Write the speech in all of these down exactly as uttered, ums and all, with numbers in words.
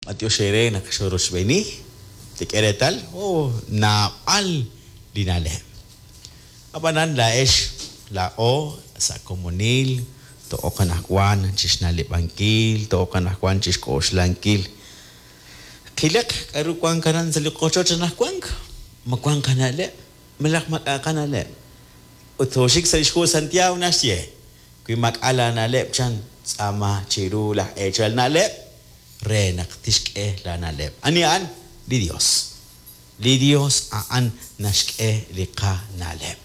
B'antiox eere naq xorochb'eeni, tek'e reetal, oh, naab'al li na'leb'. Ab'anan laa'ex, laa'o sa' komonil, to'oq anaqwan chixna'leb'ankil, to'oq anaqwan chixk'oxlankil. Qilaq k'aru wank aran sa' li qochoch anaqwan, ma wank qana'leb', malaj maak'a' qana'leb'. Ut tooxik sa' li xhu Santiago naxye, wi maak'a' laana'leb' chan, tz'aama chiru laj eechal na'leb' re naq tixk'e laana'leb'. Ani a'an? Li Dios. Li Dios a'an naxk'e li qana'leb'.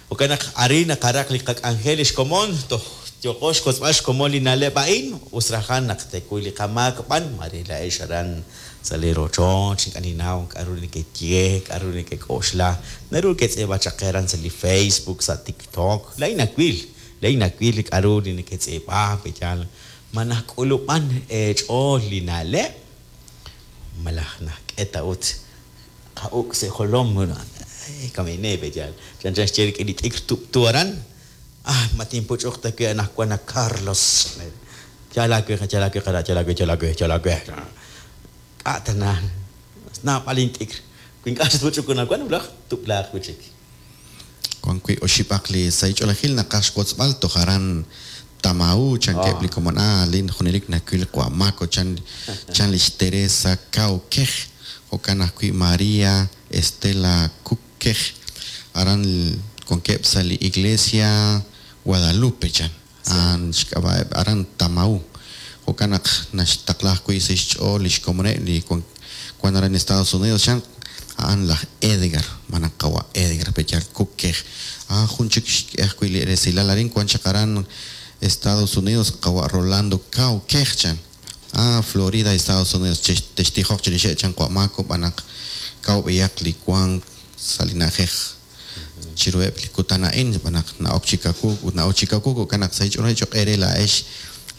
Jo'kan naq arin naqaraq li qak'anjel lix komon, toj yooqo xkotzb'al xkomon li na'leb' a'in, us rajan naq tekuy li qamaak b'an, mare laa'ex aran sa' li rochoch, ink'a' ninnaw k'aru nekeye, k'aru nekek'oxla, naru ketz'iib'a chaq qe aran sa' li Facebook, sa' TikTok, laa'in nawil, laa'in nawil li k'aru li neketz'iib'a, pe'yaal ma najk'ulub'an eech'ool li na'leb', malaj najk'e ta ut qa'uk' sa' jolom, kamine pe'yaal, chanchan xye rik'in li t'ikr tub'tu aran, ah, ma tinpuch'uq ta wi' anaqwan a Carlos. Yal aawe, yal aawe, qara', yal aawe, yal aawe, yal aawe. K'a' tana, naab'al int'ikr. Wi ink'a' xatpuch'uk anaqwan, wulaj tub'laaq wi' chik. Wan wi' oxib'aq li sahil ch'oolejil naqaj xwotzb'al toj aran Tamau, chankeb' li komon, ah, lin junelik nawil Qwa' Mako, chan chan lix Teresa Cao Kej, jo'kan ajwi' María Estela Kuk Kej, aran wankeb' sa' li Iglesia Guadalupe, chan, a'an xk'ab'a'eb' aran Tamau. Jo'kan naq naxtaqla ajwi' sa' xch'ool lix komoneb' li wan aran Estados Unidos, chan, a'an laj Edgar, manaq qawa' Edgar pe'yaal Kuk Kej. Ah, jun chik xk'e ajwi' li resilal arin wan chaq aran Estados Unidos, qawa' Rolando Cao Kej, chan. Ah, Florida, Estados Unidos, textijoq chirixeb' chan Qwa' Mako, b'anaq kaw b'eyaq li wank sa' li na'ajej chiruheb' li kutan a'in, b'anaq na'ok chi kawuk ut na'ok chi kawuk, jo'kan naq sa' xch'oolej cho'q eere laa'ex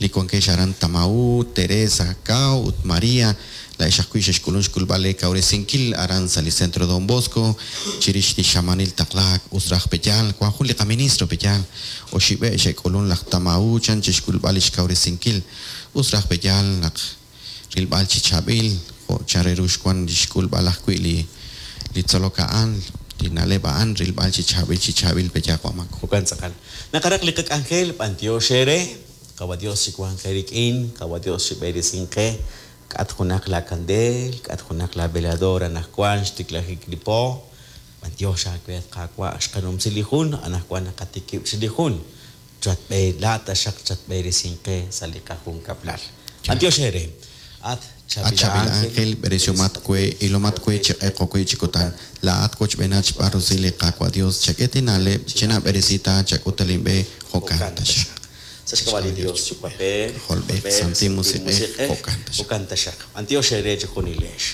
li wankex aran Tamau, Teresa Cao ut María, laa'ex ajwi' xexk'ulun xk'ulb'al le kawresinkil aran sa' li Centro Don Bosco, chirix li xamanil taqlaak us raj pe'yaal, wan jun li qaministro pe'yaal, oxib'e' xe'k'ulun laj Tamau chan chixk'ulb'al lix kawresinkil, us raj pe'yaal naq rilb'al chi chaab'il, jo' chan re ru xwan lix k'ulb'al ajwi' li li tzolok a'an, li na'leb' a'an, rilb'al chi chaab'il chi chaab'il pe'yaal Qwa' Mako. Jo'kan tz'aqal. Naqaraq li qak'anjel, b'antiox eere, qawa Dios chi wanq eerik'in, qawa Dios chi b'eresin qe, k'at junaq la kandeel, k'at junaq la velador anaqwan xtiklajik li po, b'antiox aawe Qaawa' xqanumsi li jun, anaqwan naqatikib' chi li jun, chatb'e la taxaq chatb'eresin qe sa' li qajunkab'lal. B'antiox eere. At At chaab'il ángel, b'eresiomat we, ilomat we chi q'eq we chi kutan, laa'at wochb'eenat xb'aan rusil li Qaawa' Dios, chak'e na'leb', chinab'eresita, chak'ut linb'e, jo'kan taxaq. Sa' xk'ab'a' li Dios, Yuwa'b'ej, Jolb'ej, Santil Musiq'ej, jo'kan taxaq. Jo'kan taxaq. B'antiox eere chi junilex.